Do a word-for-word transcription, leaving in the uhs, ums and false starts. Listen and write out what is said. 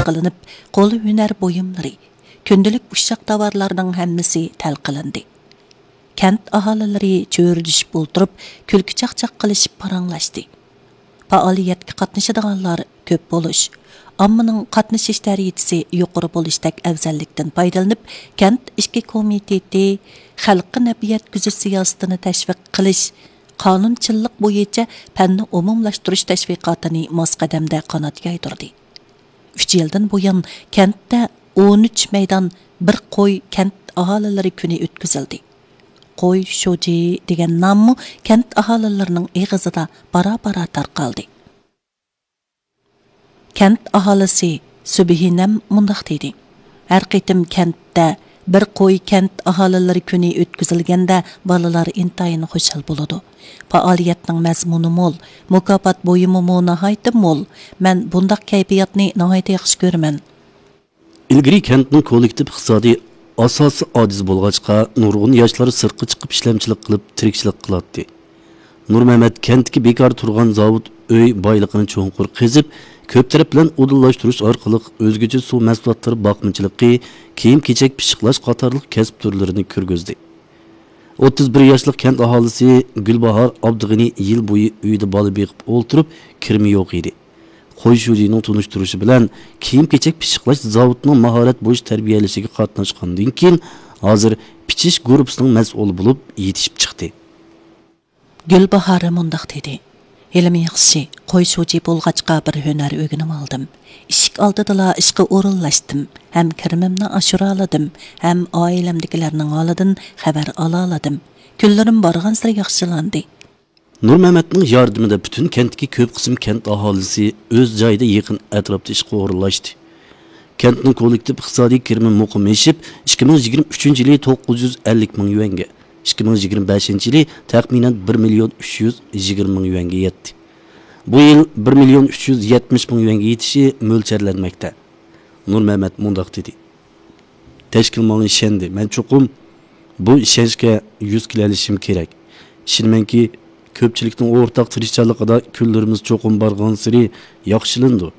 قىلىنىپ، قول ھۈنەر بۇيۇملىرى، كۈندىلىك ئۇششاق تاۋارلارنىڭ ھەممىسى تەل قىلىندى. كەنت ئاھالىلىرى چۆرىدىشىپ ئولتۇرۇپ، كۈلكە چاقچاق قىلىشىپ پاراڭلاشتى. پائالىيەتكە قاتنىشىدىغانلار كۆپ بولۇش، ئاممىنىڭ قاتنىشىش دەرىجىسى يۇقىرى بولۇشتەك ئەۋزەللىكتىن پايدىلىنىپ، كەنت ئىچكى كومىتېتى خەلققە نەپ يەتكۈزۈش سىياسىتىنى تەشۋىق قىلىش، قانۇنچىللىق بويىچە پەننى ئومۇملاشتۇرۇش تەشۋىقاتىنى ماس قەدەمدە قانات يايدۇردى. ئۈچ يىلدىن بۇيان، كەنتتە ئون ئۈچ مەيدان بىر قوي كەنت ئاھالىلىرى كۈنى ئۆتكۈزۈلدى. قوي شۇجى دېگەن ناممۇ كەنت ئاھالىلىرىنىڭ ئېغىزىدا بارا-بارا تارقالدى. كەنت ئاھالىسى سۈبھىنەم مۇنداق دېدى: «ھەر قېتىم كەنتتە بىر قوي كەنت ئاھالىلىرى كۈنى ئۆتكۈزۈلگەندە، بالىلار ئىنتايىن خۇشال بولىدۇ. پائالىيەتنىڭ مەزمۇنى مول، مۇكاپات بۇيۇمىمۇ ناھايىتى مول. مەن بۇنداق كەيپىياتنى ناھايىتى ياخشى كۆرىمەن.» ئىلگىرى كەنتنىڭ كوللېكتىپ ئىقتىسادىي ئاساسى ئاجىز بولغاچقا، نۇرغۇن ياشلار سىرتقا چىقىپ ئىشلەمچىلىك قىلىپ، تىرىكچىلىك قىلاتتى. نۇرمەمەت كەنتتىكى بىكار تۇرغان زاۋۇت ئۆي بايلىقىنى چوڭقۇر قېزىپ، كۆپ تەرەپلەم ئۇدۇللاشتۇرۇش ئارقىلىق ئۆزگىچە سۇ مەھسۇلاتلىرى باقمىچىلىقى، كىيىم-كېچەك پىششىقلاش قاتارلىق كەسىپ تۈرلىرىنى كىرگۈزدى. ئوتتۇز بىر ياشلىق كەنت ئاھالىسى گۈلباھار ئابدۇغېنى يىل بويى ئۆيىدە بالا بېقىپ ئولتۇرۇپ، كىرىمى يوق ئىدى. قوي شۇجىنىڭ تونۇشتۇرۇشى بىلەن، كىيىم-كېچەك پىششىقلاش زاۋۇتىنىڭ ماھارەت بويىچە تەربىيەلىشىگە قاتناشقاندىن كېيىن، ھازىر پىچىش گۇرۇپپىسىنىڭ مەسئۇلى بولۇپ يېتىشىپ چىقتى. گۈلباھار مۇنداق دېدى: «ھېلىمۇ ياخشى، قوي شۇجى بولغاچقا بىر ھۈنەر ئۆگىنىۋالدىم. ئىشىك ئالدىدىلا ئىشقا ئورۇنلاشتىم، ھەم كىرىمىمنى ئاشۇرالىدىم، ھەم ئائىلەمدىكىلەرنىڭ ھالىدىن خەۋەر ئالالىدىم. كۈنلىرىم بارغانسېرى ياخشىلاندى.» نۇرمەمەتنىڭ ياردىمىدە پۈتۈن كەنتتىكى كۆپ قىسىم كەنت ئاھالىسى ئۆز جايىدا يېقىن ئەتراپتا ئىشقا ئورۇنلاشتى. كەنتنىڭ كوللېكتىپ ئىقتىسادىي كىرىمى مۇقىم ئېشىپ، ئىككى مىڭ يىگىرمە ئۈچىنچى يىلى توققۇز يۈز ئەللىك مىڭ يۈەنگە، ئىككى مىڭ يىگىرمە بەشىنچى يىلى تەخمىنەن بىر مىليون ئۈچ يۈز يىگىرمە مىڭ يۈەنگە يەتتى. بۇ يىل بىر مىليون ئۈچ يۈز يەتمىش مىڭ يۈەنگە يېتىشى مۆلچەرلەنمەكتە. نۇرمەمەت مۇنداق دېدى: تەشكىل ماڭا ئىشەندى. مەن چوقۇم بۇ ئىشەنچكە يۈز كېلەلىشىم كېرەك. ئىشىنىمەنكى، كۆپچىلىكنىڭ ئورتاق تىرىشچانلىقىدا كۈنلىرىمىز چوقۇم بارغانسېرى ياخشىلىنىدۇ.